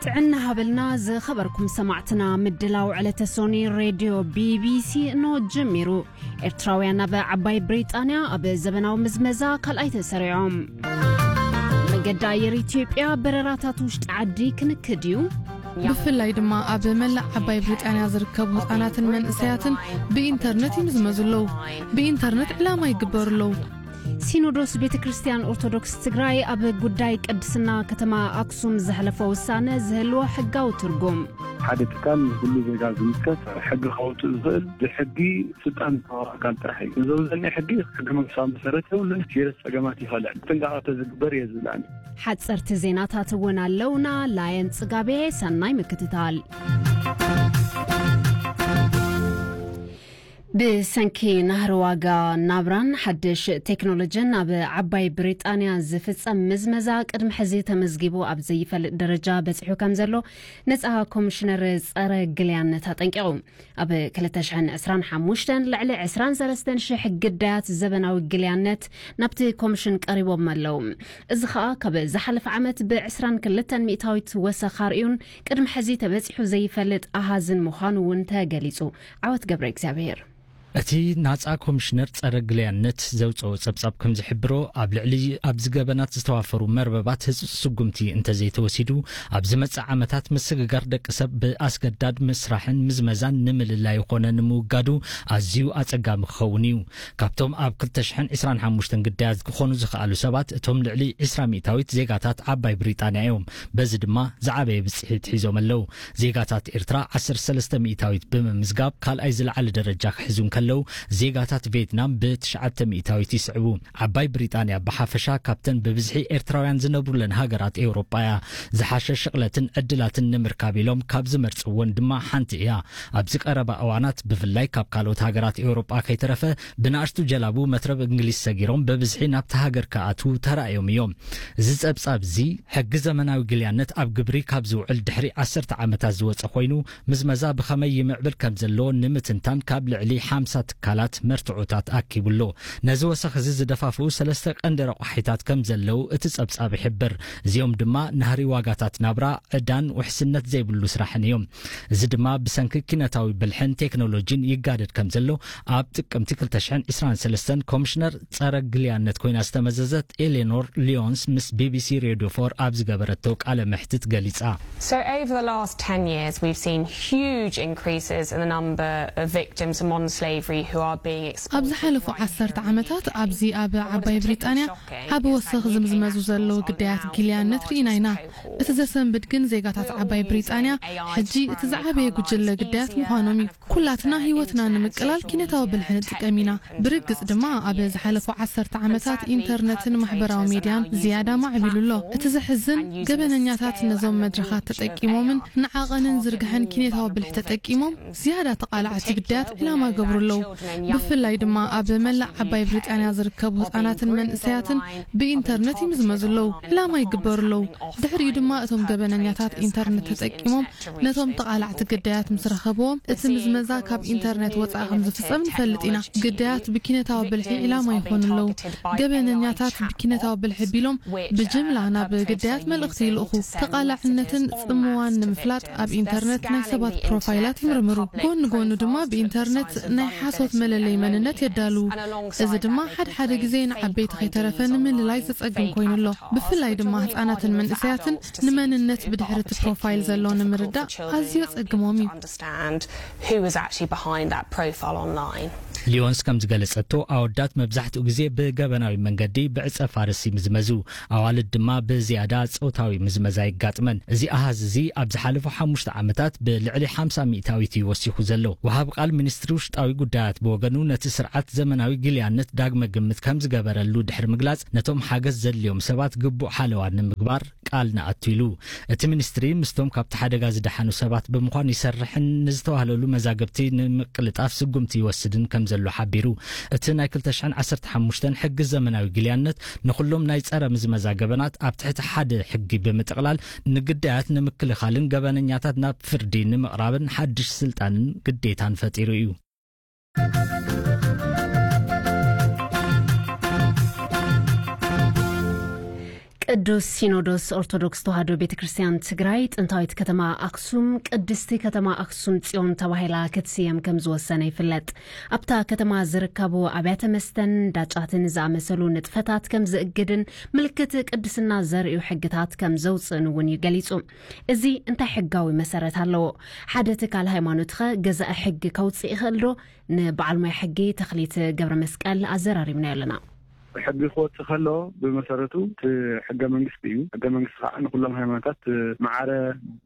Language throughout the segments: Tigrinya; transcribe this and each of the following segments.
ጥዕና ሃበልና ዝኸበርኩም ሰማዕትና፣ ምድላው ዕለተ ሶኒ ሬድዮ ቢቢሲ እንሆ ጀሚሩ። ኤርትራውያን ኣብ ዓባይ ብሪጣንያ ኣብ ዘበናዊ ምዝመዛ ካልኣይ ተሰሪዖም። መገዲ ኣየር ኢትዮጵያ በረራታት ውሽጢ ዓዲ ክንክድ እዩ። ብፍላይ ድማ ኣብ መላእ ዓባይ ብሪጣንያ ዝርከቡ ህጻናትን መንእሰያትን ብኢንተርነት ይምዝመዙ ኣለዉ። ብኢንተርነት ዕላማ ይግበሩ ኣለዉ። ሲኖዶስ ቤተ ክርስቲያን ኦርቶዶክስ ትግራይ ኣብ ጉዳይ ቅድስና ከተማ ኣክሱም ዘሕለፎ ውሳነ ዝህልዎ ሕጋዊ ትርጉም። ሓደ ትካል ንኩሉ ዜጋ ዝምልከት ሕጊ ከውፅእ ዝኽእል ብሕጊ ስልጣን ዝተዋህቦ ኣካል ጥራሕ እዩ። እዚ ዘውፅእ ዘሎ ሕጊ ሕገ መንግስታዊ መሰረት የብሉን፣ ሴሪየስ ፀገማት ይኸልዕ። ጥንቃቐ ተዝግበር እየ ዝብል ኣነ። ሓፀርቲ ዜናታት እውን ኣለውና። ላየን ፅጋቤ፣ ሰናይ ምክትታል። ብሰንኪ ናህሪ ዋጋ ናብራን ሓድሽ ቴክኖሎጂን ኣብ ዓባይ ብሪጣንያ ዝፍጸም ምዝመዛ ቅድሚ ሕዚ ተመዝጊቡ ኣብ ዘይፈልጥ ደረጃ በጺሑ ከም ዘሎ ነጻ ኮሚሽነር ጸረ ግልያነት ኣጠንቂቑ። ኣብ ክልተ ሽሕን ዕስራን ሓሙሽተን ልዕሊ ዕስራን ሰለስተን ሽሕ ግዳያት ዘበናዊ ግልያነት ናብቲ ኮሚሽን ቀሪቦም ኣለዉ። እዚ ኸኣ ካብ ዝሓለፈ ዓመት ብ ዕስራን ክልተን ሚእታዊት ወሰኽ ኣርእዩን ቅድሚ ሕዚ ተበጺሑ ዘይፈልጥ ኣሃዝን ምዃኑ እውን ተገሊጹ። ዓወት ገብረ እግዚኣብሔር። እቲ ናጻ ኮሚሽነር ጸረ ግልያነት ዘውጽኦ ጸብጻብ ከም ዝሕብሮ፣ ኣብ ልዕሊ ኣብዚ ገበናት ዝተዋፈሩ መርበባት ህጹጽ ስጉምቲ እንተዘይተወሲዱ፣ ኣብ ዝመጽእ ዓመታት ምስግጋር ደቂ ሰብ ብኣስገዳድ ምስራሕን ምዝመዛን ንምልላይ ይኾነ ንምውጋዱ ኣዝዩ ኣጸጋሚ ክኸውን እዩ። ካብቶም ኣብ ክልተ ሽሕን ዕስራን ሓሙሽተን ግዳያት ክኾኑ ዝኸኣሉ ሰባት፣ እቶም ልዕሊ ዕስራ ሚእታዊት ዜጋታት ዓባይ ብሪጣንያ እዮም። በዚ ድማ ዝዓበየ ብጽሒት ሒዞም ኣለዉ። ዜጋታት ኤርትራ ዓሰርተ ሰለስተ ሚእታዊት ብምምዝጋብ ካልኣይ ዝለዓለ ደረጃ ክሕዙ እንከለዉ፣ ዜጋታት ቬትናም ብትሽዓተ ሚእታዊት ይስዕቡ። ዓባይ ብሪጣንያ ብሓፈሻ ካብተን ብብዝሒ ኤርትራውያን ዝነብሩለን ሃገራት ኤውሮጳ እያ። ዝሓሸ ሽቕለትን ዕድላትን ንምርካብ ኢሎም ካብ ዝመርጽወን ድማ ሓንቲ እያ። ኣብዚ ቀረባ እዋናት ብፍላይ ካብ ካልኦት ሃገራት ኤውሮጳ ከይተረፈ ብንኣሽቱ ጀላቡ መትረብ እንግሊዝ ሰጊሮም ብብዝሒ ናብታ ሃገር ክኣትዉ ተራእዮም እዮም። እዚ ጸብጻብ እዚ ሕጊ ዘመናዊ ግልያነት ኣብ ግብሪ ካብ ዝውዕል ድሕሪ ዓሰርተ ዓመታት ዝወጸ ኮይኑ፣ ምዝመዛ ብኸመይ ይምዕብል ከም ዘለዎ ንምትንታን ካብ ልዕሊ ሓምሳ ትካላት መርትዖታት ኣኪቡ ኣሎ። ነዚ ወሰኽ እዚ ዝደፋፍኡ ሰለስተ ቀንዲ ረቋሒታት ከም ዘለዉ እቲ ጸብጻብ ይሕብር። እዚኦም ድማ ናህሪ ዋጋታት ናብራ፣ ዕዳን ውሕስነት ዘይብሉ ስራሕን እዮም። እዚ ድማ ብሰንኪ ኪነታዊ ብልሕን ቴክኖሎጂን ይጋደድ ከም ዘሎ ኣብ ጥቅምቲ ክልተ ሽሕን ዕስራን ሰለስተን ኮሚሽነር ጸረ ግልያነት ኮይና ዝተመዘዘት ኤሌኖር ሊዮንስ ምስ ቢቢሲ ሬድዮ ፎር ኣብ ዝገበረቶ ቃለ መሕትት ገሊጻ። So over the last ten years, we've seen huge increases in the number of victims of modern slavery who are being ኣብ exported ዝሓለፉ right ዓሰርተ here in the ዓመታት U K. ኣብዚ ኣብ ዓባይ ብሪጣንያ ዓቢ ወሰኽ ዝምዝመዙ ዘለዉ ግዳያት ግልያነት ርኢና ኢና። እቲ ዘሰንብድ ግን ዜጋታት ዓባይ ብሪጣንያ ሕጂ እቲ ዝዓበየ ጉጅለ ግዳያት ምዃኖም እዩ። ኩላትና ህይወትና ንምቅላል ኪነታዊ ብልሒ ንጥቀም ኢና። ብርግጽ ድማ ኣብ ዝሓለፉ ዓሰርተ ዓመታት ኢንተርነትን ማሕበራዊ ሜድያን ዝያዳ ማዕቢሉ ኣሎ። እቲ ዘሕዝን፣ ገበነኛታት ነዞም መድረኻት ተጠቂሞምን ንዓቐንን ዝርግሐን ኪነታዊ ብልሒ ተጠቂሞም ዝያዳ ተቓላዕቲ ግዳያት ዕላማ ይገብሩ ኣለዉ። ብፍላይ ድማ ኣብ መላእ ዓባይ ብሪጣንያ ዝርከቡ ህጻናትን መንእሰያትን ብኢንተርነት ይምዝመዙ ኣለዉ፣ ዕላማ ይግበሩ ኣለዉ። ድሕሪኡ ድማ እቶም ገበነኛታት ኢንተርነት ተጠቂሞም ነቶም ተቓላዕቲ ግዳያት ምስ ረኸብዎም፣ እቲ ምዝመዛ ካብ ኢንተርነት ወጻኢ ከም ዝፍጸም ንፈልጥ ኢና። ግዳያት ብኪነታዊ ብልሒ ዕላማ ይኾኑ ኣለዉ። ገበነኛታት ብኪነታዊ ብልሒ ቢሎም ብጅምላ ናብ ግዳያት መልእኽቲ ይልእኹ። ተቓላዕነትን ጽምዋን ንምፍላጥ ኣብ ኢንተርነት ናይ ሰባት ፕሮፋይላት ይምርምሩ። ጎኒ ጎኑ ድማ ብኢንተርነት ናይ ሓሶት መለለይ መንነት የዳልዉ። እዚ ድማ ሓደ ሓደ ግዜ ንዓበይቲ ከይተረፈ ንምልላይ ዘጸግም ኮይኑ ኣሎ። ብፍላይ ድማ ህጻናትን መንእሰያትን ንመንነት ብድሕሪ እቲ ፕሮፋይል ዘሎ ንምርዳእ ኣዝዩ ኣጸግሞም እዩ። Understand who is actually behind that profile online. ሊዮንስ ከም ዝገለጸቶ፣ ኣወዳት መብዛሕትኡ ግዜ ብገበናዊ መንገዲ ብዕጸ ፋርስ ይምዝመዙ። ኣዋልድ ድማ ብዝያዳ ጾታዊ ምዝመዛ ይጋጥመን። እዚ ኣሃዝ እዚ ኣብ ዝሓለፉ ሓሙሽተ ዓመታት ብልዕሊ ሓምሳ ሚእታዊት እዩ ወሲኹ ዘሎ። ወሃቢ ቃል ሚኒስትሪ ውሽጣዊ ጉዳያት ብወገኑ፣ ነቲ ስርዓት ዘመናዊ ግልያነት ዳግመ ግምት ከም ዝገበረሉ ድሕሪ ምግላጽ፣ ነቶም ሓገዝ ዘድልዮም ሰባት ግቡእ ሓለዋ ንምግባር ቃል ንኣቱ ኢሉ። እቲ ሚኒስትሪ ምስቶም ካብቲ ሓደጋ ዝደሓኑ ሰባት ብምዃን ይሰርሕን ንዝተዋህለሉ መዛግብቲ ንምቅልጣፍ ስጉምቲ ይወስድን ከም ዘሎ ሓቢሩ። እቲ ናይ ክልተ ሽሕን ዓሰርተ ሓሙሽተን ሕጊ ዘመናዊ ግልያነት ንኹሎም ናይ ጸረ ምዝመዛ ገበናት ኣብ ትሕቲ ሓደ ሕጊ ብምጥቕላል፣ ንግዳያት ንምክልኻልን ገበነኛታት ናብ ፍርዲ ንምቕራብን ሓድሽ ስልጣንን ግዴታን ፈጢሩ እዩ። ቅዱስ ሲኖዶስ ኦርቶዶክስ ተዋሕዶ ቤተ ክርስቲያን ትግራይ ጥንታዊት ከተማ ኣክሱም ቅድስቲ ከተማ ኣክሱም ጽዮን ተባሂላ ክትስየም ከም ዝወሰነ ይፍለጥ። ኣብታ ከተማ ዝርከቡ ኣብያተ መስተን ዳጫትን ዝኣመሰሉ ንጥፈታት ከም ዝእግድን ምልክት ቅድስና ዘርእዩ ሕግታት ከም ዘውፅእን እውን እዩ ገሊጹ። እዚ እንታይ ሕጋዊ መሰረት ኣለዎ? ሓደ ትካል ሃይማኖትኸ ገዛኢ ሕጊ ከውፅእ ይኽእል ዶ? ንበዓል ሞያ ሕጊ ተኽሊት ገብረ መስቀል ኣዘራሪብናዮ ኣለና። ሕጊ ክወፅእ ከሎ ብመሰረቱ እቲ ሕገ መንግስቲ እዩ። ሕገ መንግስቲ ከዓ ንኩሎም ሃይማኖታት ማዕረ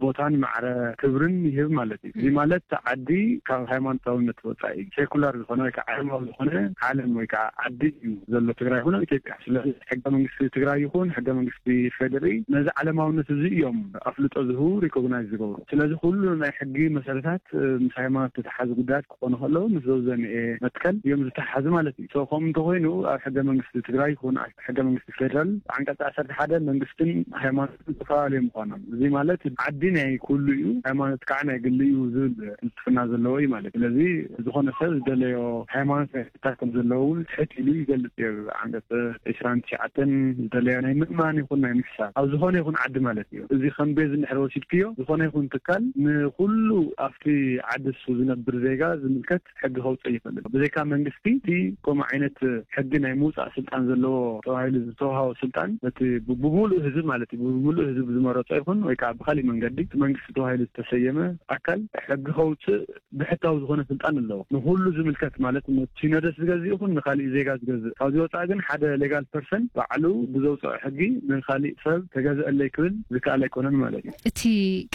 ቦታን ማዕረ ክብርን ይህብ ማለት እዩ። እዚ ማለት እቲ ዓዲ ካብ ሃይማኖታውነት ወፃኢ ሴኩላር ዝኾነ ወይ ከዓ ዓለማዊ ዝኾነ ዓለም ወይ ከዓ ዓዲ እዩ ዘሎ ትግራይ ይኹን ኢትዮጵያ። ስለዚ ሕገ መንግስቲ ትግራይ ይኹን ሕገ መንግስቲ ፌዴሪ ነዚ ዓለማውነት እዚ እዮም ኣፍልጦ ዝህቡ፣ ሪኮግናይዝ ዝገብሩ። ስለዚ ኩሉ ናይ ሕጊ መሰረታት ምስ ሃይማኖት ዝተሓዙ ጉዳያት ክኾኑ ከለዉ ምስ ዘውዘንኤ መትከል እዮም ዝተሓዙ ማለት እዩ። ሶ ከምኡ እንተኮይኑ ኣብ ሕገ መንግስቲ ትግራይ ይኹን ኣብ ሕገ መንግስቲ ፌደራል ዓንቀጽ ዓሰርተ ሓደ መንግስትን ሃይማኖትን ዝተፈላለዩ ምዃኖም፣ እዚ ማለት ዓዲ ናይ ኩሉ እዩ፣ ሃይማኖት ከዓ ናይ ግሊ እዩ ዝብል ፍልስፍና ዘለዎ እዩ ማለት። ስለዚ ዝኾነ ሰብ ዝደለዮ ሃይማኖት ናይ ምፍታሕ ከም ዘለዎ እውን ትሕት ኢሉ ይገልጽ እዩ። ዓንቀጽ ዕስራን ትሽዓተን ዝደለዮ ናይ ምእማን ይኹን ናይ ምሕሳብ ኣብ ዝኾነ ይኹን ዓዲ ማለት እዩ። እዚ ከም ቤዝ እንድሕር ወሲድክዮ፣ ዝኾነ ይኹን ትካል ንኹሉ ኣብቲ ዓዲ እሱ ዝነብር ዜጋ ዝምልከት ሕጊ ከውፅእ ይኽእል። ብዘይካ መንግስቲ እቲ ከምኡ ዓይነት ሕጊ ናይ ምውፃእ ስልጣን ዘለዎ ተባሂሉ ዝተዋሃቦ ስልጣን፣ ነቲ ብ-፣ ብምሉእ ህዝብ ማለት እዩ፣ ብምሉእ ህዝብ ዝመረፆ ይኹን ወይ ከዓ ብካሊእ መንገዲ እቲ መንግስቲ ተባሂሉ ዝተሰየመ ኣካል ሕጊ ከውፅእ ብሕታዊ ዝኾነ ስልጣን ኣለዎ። ንኹሉ ዝምልከት ማለት ነቲ ሲኖዶስ ዝገዝእ ይኹን ንካሊእ ዜጋ ዝገዝእ፣ ካብዚ ወፃኢ ግን ሓደ ሌጋል ፐርሰን ባዕሉ ብዘውፅኦ ሕጊ ንካሊእ ሰብ ተገዝአለይ ክብል ዝከኣል ኣይኮነን ማለት እዩ። እቲ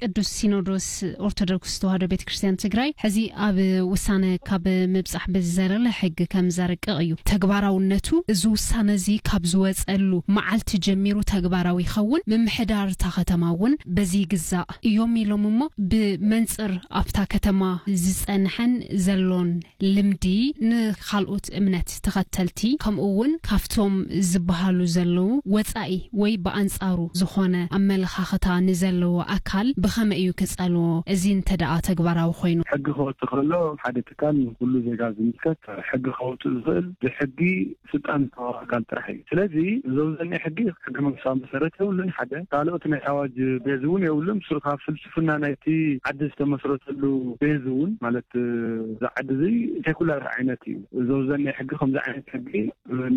ቅዱስ ሲኖዶስ ኦርቶዶክስ ተዋሕዶ ቤተ ክርስቲያን ትግራይ ሕዚ ኣብ ውሳነ ካብ ምብጻሕ ብዝዘለለ ሕጊ ከም ዘርቅቕ እዩ። ተግባራውነቱ፣ እዚ ውሳነ እዚ ካብ ዝወጸሉ መዓልቲ ጀሚሩ ተግባራዊ ይኸውን። ምምሕዳር እታ ከተማ እውን በዚ ይግዛእ እዮም ኢሎም እሞ፣ ብመንጽር ኣብታ ከተማ ዝጸንሐን ዘሎን ልምዲ ንኻልኦት እምነት ተኸተልቲ፣ ከምኡ እውን ካብቶም ዝበሃሉ ዘለዉ ወጻኢ ወይ ብኣንጻሩ ዝኾነ ኣመለኻኽታ ንዘለዎ ኣካል ብኸመይ እዩ ክጸልዎ? እዚ እንተ ደኣ ተግባራዊ ኮይኑ? ሕጊ ክወጽእ ከሎ ሓደ ትካል ንኹሉ ዜጋ ዝምልከት ሕጊ ከውጽእ ዝኽእል ብሕጊ ስልጣን ዝተዋህቦ ኣካል ጥራሕ እዩ። ስለዚ ዘውዘኒ ሕጊ ሕገ መንግስታዊ መሰረት የብሉን። ሓደ ካልኦት ናይ ኣዋጅ ቤዝ እውን የብሉን። ስሩ ካብ ፍልስፍና ናይቲ ዓዲ ዝተመስረተሉ ቤዝ እውን ማለት እዚ ዓዲ እዚ ሴኩላር ዓይነት እዩ። ዘውዘኒ ሕጊ ከምዚ ዓይነት ሕጊ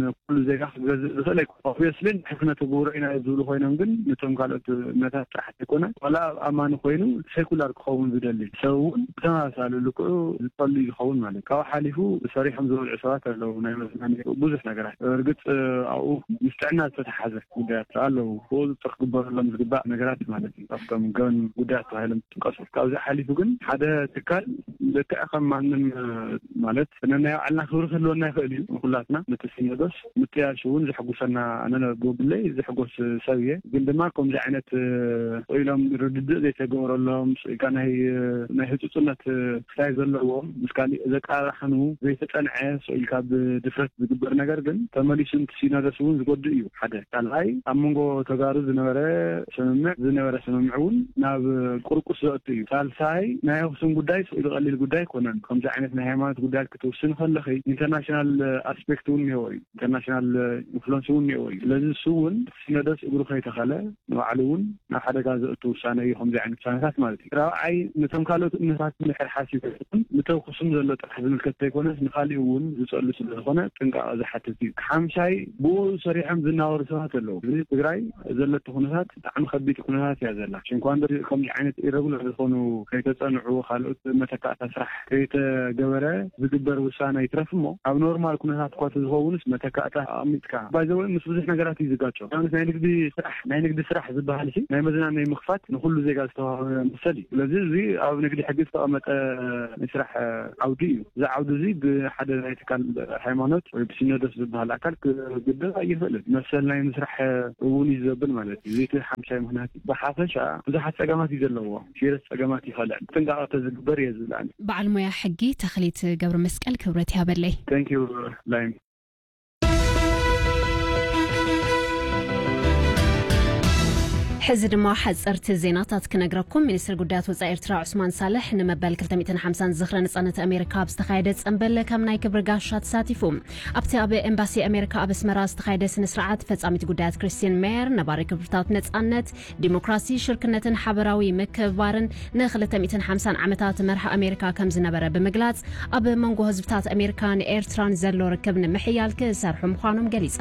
ንኩሉ ዜጋ ክገዝእ ዝኽእል ኣይኮነን። ኦብቪየስሊ ንሕፍነተ ግብሮ ኢና ዝብሉ ኮይኖም ግን ነቶም ካልኦት እምነታት ጥራሕ ዘይኮነ ዋላ ኣብ ኣማኒ ኮይኑ ሴኩላር ክኸውን ዝደሊ ሰብ እውን ብተመሳሳሊ ልክዑ ዝጸሉ እዩ ዝኸውን ማለት እዩ። ካብኡ ሓሊፉ ሰሪሖም ዝበልዑ ሰባት ኣለዉ። ናይ መዝናነይ ብዙሕ ነገራት እርግጥ ኣብኡ ምስ ጥዕና ዝተተሓዘ ጉዳያት ኣለዉ። ብቁፅፅር ክግበረሎም ዝግባእ ነገራት ማለት እዩ። ካብቶም ገን ጉዳያት ተባሂሎም ዝጥቀሱ። ካብዚ ሓሊፉ ግን ሓደ ትካል ልክዕ ከም ማንም ማለት ነናይ ባዕልና ክብሪ ክህልወና ይኽእል እዩ። ንኩላትና ነቲ ሲኖዶስ ምጥያሽ እውን ዘሕጉሰና፣ ኣነ ብግለይ ዝሕጎስ ሰብ እየ። ግን ድማ ከምዚ ዓይነት ኢሎም ርድድእ ዘይተገበረሎም፣ ስኢልካ ናይ ናይ ህጹጽነት ክሳይ ዘለዎም ምስ ካሊእ ዘቃራሕኑ ዘይተጸንዐ ስኢልካ ብድፍረት ዝግበር ነገር ግን ተመሊሱ ነቲ ሲኖዶስ እውን ዝጎድእ እዩ። ሓደ ካልኣይ ኣብ መንጎ ተጋሩ ዝነበረ ስምምዕ ዝነበረ ስምምዕ እውን ናብ ቁርቁስ ዘእቱ እዩ። ሳልሳይ ናይ ኣክሱም ጉዳይ ስኢሉ ቀሊል ጉዳይ ኣይኮነን። ከምዚ ዓይነት ናይ ሃይማኖት ጉዳያት ክትውስን ከለኺ ኢንተርናሽናል ኣስፔክት እውን እኒሄዎ እዩ። ኢንተርናሽናል ኢንፍሉንስ እውን እኒሄዎ እዩ። ስለዚ እሱ እውን ሲኖዶስ እግሩ ከይተኸለ ንባዕሉ እውን ናብ ሓደጋ ዘእቱ ውሳነ እዩ። ከምዚ ዓይነት ውሳነታት ማለት እዩ። ራብዓይ ነቶም ካልኦት እምነታት እንድሕር ሓሲቡ ነተውክሱም ዘሎ ጥራሕ ዝምልከት ዘይኮነስ ንካሊኡ እውን ዝፀሉ ስለዝኾነ ጥንቃቐ ዝሓትት እዩ። ሓምሻይ ብኡ ሰሪሖም ዝናበሩ ሰባት ኣለዉ። እዚ ትግራይ ዘለቶ ኩነታት ብጣዕሚ ከቢድ ኩነታት እያ ዘላ። ሽንኳ እንዶ ከምዚ ዓይነት ኢረጉላር ዝኾኑ ከይተፀንዑ ካልኦት መተካእታ ስራሕ ከይተገበረ ዝግበር ውሳነ ይትረፍ እሞ ኣብ ኖርማል ኩነታት እኳ ተዝኸውንስ መተካእታ ኣቐሚጥካ ባይዘወይ ምስ ብዙሕ ነገራት እዩ ዝጋጮ። ንኣብነት ናይ ንግዲ ስራሕ ናይ ንግዲ ስራሕ ዝበሃል ሲ ናይ መዝናነይ ምኽፋት ንኩሉ ዜጋ ዝተዋህበ መሰል እዩ። ስለዚ እዚ ኣብ ንግዲ ሕጊ ዝተቐመጠ ናይ ስራሕ ዓውዲ እዩ። እዚ ዓውዲ እዚ ብሓደ ናይ ትካል ሃይማኖት ወይ ብሲኖዶስ ዝበሃል ኣካል ክግደብ ኣይኽእልን። መሰል ናይ ምስራሕ እውን እዩ ዘብል ማለት እዩ። እዚ እቲ ሓምሻይ ምኽንያት እዩ። ብሓፈሻ ብዙሓት ጸገማት እዩ ዘለዎ። ሲረስ ጸገማት ይኸልዕ ጥንቃቐ ተዝግበር እየ ዝብል ኣነ። በዓል ሞያ ሕጊ ተኽሊት ገብረ መስቀል ክብረት ያበለይ። Thank you ላይም። ሕዚ ድማ ሓጸርቲ ዜናታት ክነግረኩም። ሚኒስትሪ ጉዳያት ወጻኢ ኤርትራ ዑስማን ሳልሕ ንመበል ክልተ ሚእትን ሓምሳን ዝኽረ ነጻነት ኣሜሪካ ኣብ ዝተኻየደ ጸንበል ከም ናይ ክብሪ ጋሻ ተሳቲፉ። ኣብቲ ኣብ ኤምባሲ ኣሜሪካ ኣብ ኣስመራ ዝተኻየደ ስነ ስርዓት፣ ፈጻሚት ጉዳያት ክሪስቲን ሜየር ነባሪ ክብርታት ነጻነት፣ ዲሞክራሲ፣ ሽርክነትን ሓበራዊ ምክብባርን ንክልተ ሚእትን ሓምሳን ዓመታት መርሒ ኣሜሪካ ከም ዝነበረ ብምግላጽ፣ ኣብ መንጎ ህዝብታት ኣሜሪካን ኤርትራን ዘሎ ርክብ ንምሕያል ክሰርሑ ምዃኖም ገሊጻ።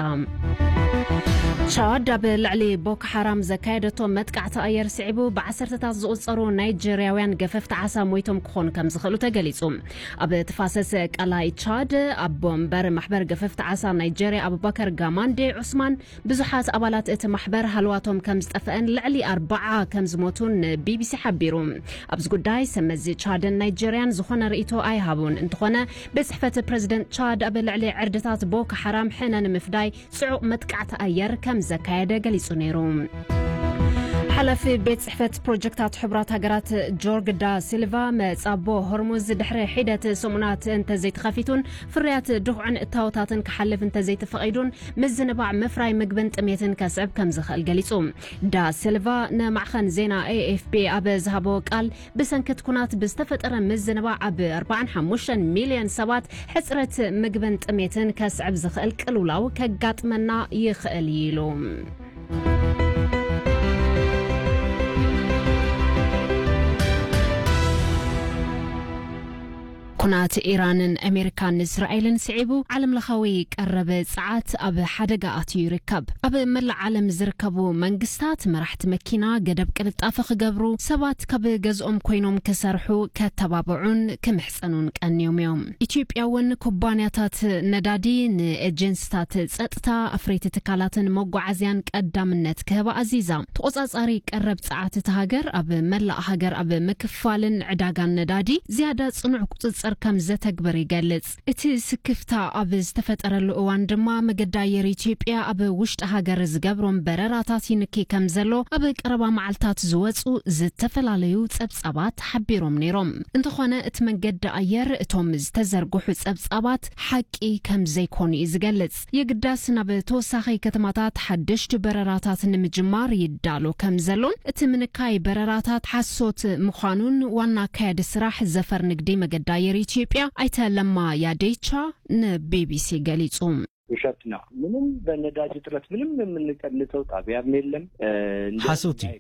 ቻድ ኣብ ልዕሊ ቦኮ ሓራም ዘካየደቶ መጥቃዕቲ ኣየር ስዒቡ፣ ብዓሰርተታት ዝቑጸሩ ናይጀርያውያን ገፈፍቲ ዓሳ ሞይቶም ክኾኑ ከም ዝኽእሉ ተገሊጹ። ኣብ ተፋሰስ ቀላይ ቻድ ኣቦ መንበር ማሕበር ገፈፍቲ ዓሳ ናይጀርያ ኣቡበከር ጋማንዴ ዑስማን፣ ብዙሓት ኣባላት እቲ ማሕበር ሃለዋቶም ከም ዝጠፍአን ልዕሊ ኣርባዓ ከም ዝሞቱን ንቢቢሲ ሓቢሩ። ኣብዚ ጉዳይ ሰመዚ ቻድን ናይጀርያን ዝኾነ ርእይቶ ኣይሃቡን። እንተኾነ፣ ቤት ጽሕፈት ፕረዚደንት ቻድ ኣብ ልዕሊ ዕርድታት ቦኮ ሓራም ሕነ ንምፍዳይ ጽዑቕ መጥቃዕቲ ኣየር ከም ዘካየደ ገሊጹ ነይሩ። ሓላፊ ቤት ጽሕፈት ፕሮጀክታት ሕቡራት ሃገራት ጆርግ ዳ ሲልቫ፣ መጻቦ ሆርሙዝ ድሕሪ ሒደት ሰሙናት እንተዘይተኸፊቱን ፍርያት ድኹዕን እታወታትን ክሓልፍ እንተዘይተፈቒዱን፣ ምዝንባዕ ምፍራይ ምግብን ጥሜትን ከስዕብ ከም ዝኽእል ገሊጹ። ዳ ሲልቫ ንማዕኸን ዜና ኤኤፍፒ ኣብ ዝሃቦ ቃል፣ ብሰንኪ እቲ ኩናት ብዝተፈጠረ ምዝንባዕ ኣብ ኣርባዓን ሓሙሽተን ሚልዮን ሰባት ሕጽረት ምግብን ጥሜትን ከስዕብ ዝኽእል ቅልውላው ከጋጥመና ይኽእል እዩ ኢሉ። ኩናት ኢራንን ኣሜሪካን እስራኤልን ስዒቡ፣ ዓለምለኻዊ ቀረብ ጸዓት ኣብ ሓደጋ ኣትዩ ይርከብ። ኣብ መላእ ዓለም ዝርከቡ መንግስታት፣ መራሕቲ መኪና ገደብ ቅልጣፈ ክገብሩ፣ ሰባት ካብ ገዝኦም ኮይኖም ክሰርሑ ከተባብዑን ክምሕጸኑን ቀንዮም እዮም። ኢትዮጵያ እውን ኩባንያታት ነዳዲ ንኤጀንስታት ጸጥታ፣ ኣፍረይቲ ትካላትን መጓዓዝያን ቀዳምነት ክህባ ኣዚዛ። ተቖጻጻሪ ቀረብ ጸዓት እታ ሃገር ኣብ መላእ ሃገር ኣብ ምክፋልን ዕዳጋን ነዳዲ ዝያዳ ጽኑዕ ቁጽጽር ከም ዘተግብር ይገልጽ። እቲ ስክፍታ ኣብ ዝተፈጠረሉ እዋን ድማ፣ መገዲ ኣየር ኢትዮጵያ ኣብ ውሽጢ ሃገር ዝገብሮም በረራታት ይንኪ ከም ዘሎ ኣብ ቀረባ መዓልታት ዝወጹ ዝተፈላለዩ ጸብጻባት ሓቢሮም ነይሮም። እንተኾነ፣ እቲ መንገዲ ኣየር እቶም ዝተዘርግሑ ጸብጻባት ሓቂ ከም ዘይኮኑ እዩ ዝገልጽ። የግዳስ ናብ ተወሳኺ ከተማታት ሓደሽቲ በረራታት ንምጅማር ይዳሎ ከም ዘሎን፣ እቲ ምንካይ በረራታት ሓሶት ምዃኑን ዋና ኣካያዲ ስራሕ ዘፈር ንግዲ መገዲ ኣየር ኢትዮጵያ ኣይተ ለማ ያዴቻ ንቢቢሲ ገሊጹ። ውሸት ነው። ምንም በነዳጅ እጥረት ምንም የምንቀንሰው ጣቢያም የለም። እ፣ እንደ ሓሶት እዩ።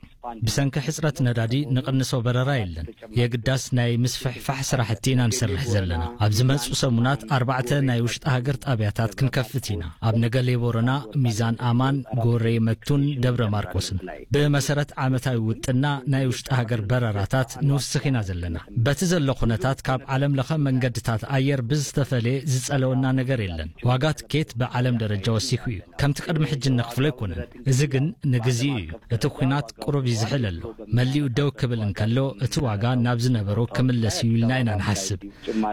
ብሰንኪ ሕጽረት ነዳዲ ንቕንሶ በረራ የለን። የግዳስ ናይ ምስፍሕፋሕ ስራሕቲ ኢና ንሰርሕ ዘለና። ኣብ ዝመጹ ሰሙናት ኣርባዕተ ናይ ውሽጢ ሃገር ጣብያታት ክንከፍት ኢና። ኣብ ነገሌ ቦረና፣ ሚዛን ኣማን፣ ጎሬ መቱን ደብረ ማርቆስን። ብመሰረት ዓመታዊ ውጥና ናይ ውሽጢ ሃገር በረራታት ንውስኽ ኢና ዘለና። በቲ ዘሎ ኩነታት ካብ ዓለም ለኸ መንገድታት ኣየር ብዝተፈለየ ዝጸለወና ነገር የለን። ዋጋ ትኬት ብዓለም ደረጃ ወሲኹ እዩ። ከምቲ ቅድሚ ሕጂ እንኽፍሎ ኣይኮነን። እዚ ግን ንግዚኡ እዩ። እቲ ኲናት ቁሩብ ይዝሕል ኣሎ። መሊኡ ደው ክብል እንከሎ፣ እቲ ዋጋ ናብ ዝነበሮ ክምለስ እዩ ኢልና ኢና ንሓስብ።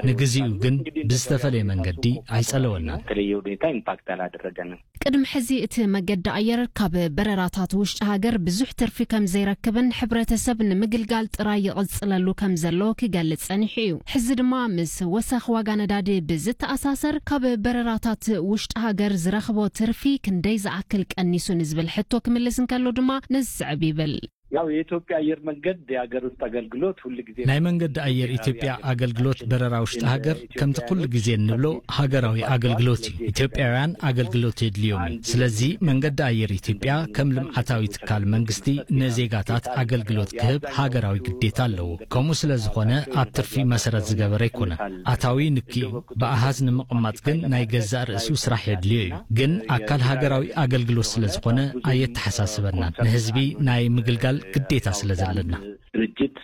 ንግዚኡ ግን ብዝተፈለየ መንገዲ ኣይጸለወናን። በተለየ ሁኔታ ኢምፓክት አላደረገንም። ቅድሚ ሕዚ እቲ መገዲ ኣየር ካብ በረራታት ውሽጢ ሃገር ብዙሕ ትርፊ ከም ዘይረክብን ሕብረተሰብ ንምግልጋል ጥራይ ይቕጽለሉ ከም ዘሎ ክገልጽ ጸኒሑ እዩ። ሕዚ ድማ ምስ ወሰኽ ዋጋ ነዳዲ ብዝተኣሳሰር፣ ካብ በረራታት ውሽጢ ሃገር ዝረኽቦ ትርፊ ክንደይ ዝኣክል ቀኒሱ ንዝብል ሕቶ ክምልስ እንከሎ ድማ ነዚ ዝስዕብ ይብል። ያው የኢትዮጵያ አየር መንገድ የሀገር ውስጥ አገልግሎት ሁል ጊዜ ናይ መንገዲ ኣየር ኢትዮጵያ ኣገልግሎት በረራ ውሽጢ ሃገር ከምቲ ኩሉ ግዜ እንብሎ ሃገራዊ ኣገልግሎት እዩ። ኢትዮጵያውያን ኣገልግሎት የድልዮም እዩ። ስለዚ መንገዲ ኣየር ኢትዮጵያ ከም ልምዓታዊ ትካል መንግስቲ ንዜጋታት ኣገልግሎት ክህብ ሃገራዊ ግዴታ ኣለዎ። ከምኡ ስለ ዝኾነ ኣብ ትርፊ መሰረት ዝገበረ ኣይኮነን። ኣታዊ ንኪ እዩ። ብኣሃዝ ንምቕማጥ ግን ናይ ገዛእ ርእሱ ስራሕ የድልዮ እዩ። ግን ኣካል ሃገራዊ ኣገልግሎት ስለ ዝኾነ ኣየተሓሳስበናን። ንህዝቢ ናይ ምግልጋል ግዴታ ስለ ዘለና። ድርጅት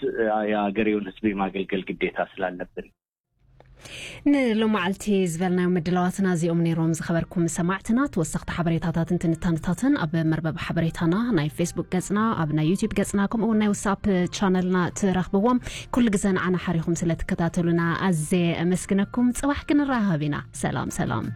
የሀገሬውን ህዝብ የማገልገል ግዴታ ስላለብን። ንሎማዓልቲ ዝበልናዮም ምድላዋትና እዚኦም ነይሮም። ዝኸበርኩም ሰማዕትና፣ ተወሰኽቲ ሓበሬታታትን ትንታንታትን ኣብ መርበብ ሓበሬታና፣ ናይ ፌስቡክ ገጽና፣ ኣብ ናይ ዩቲዩብ ገጽና፣ ከምኡ እውን ናይ ዋትስኣፕ ቻነልና ትረኽብዎም። ኩሉ ግዘ ንዓና ሓሪኹም ስለ ትከታተሉና ኣዝየ ኣመስግነኩም። ጽባሕ ክንራኸብ ኢና። ሰላም ሰላም።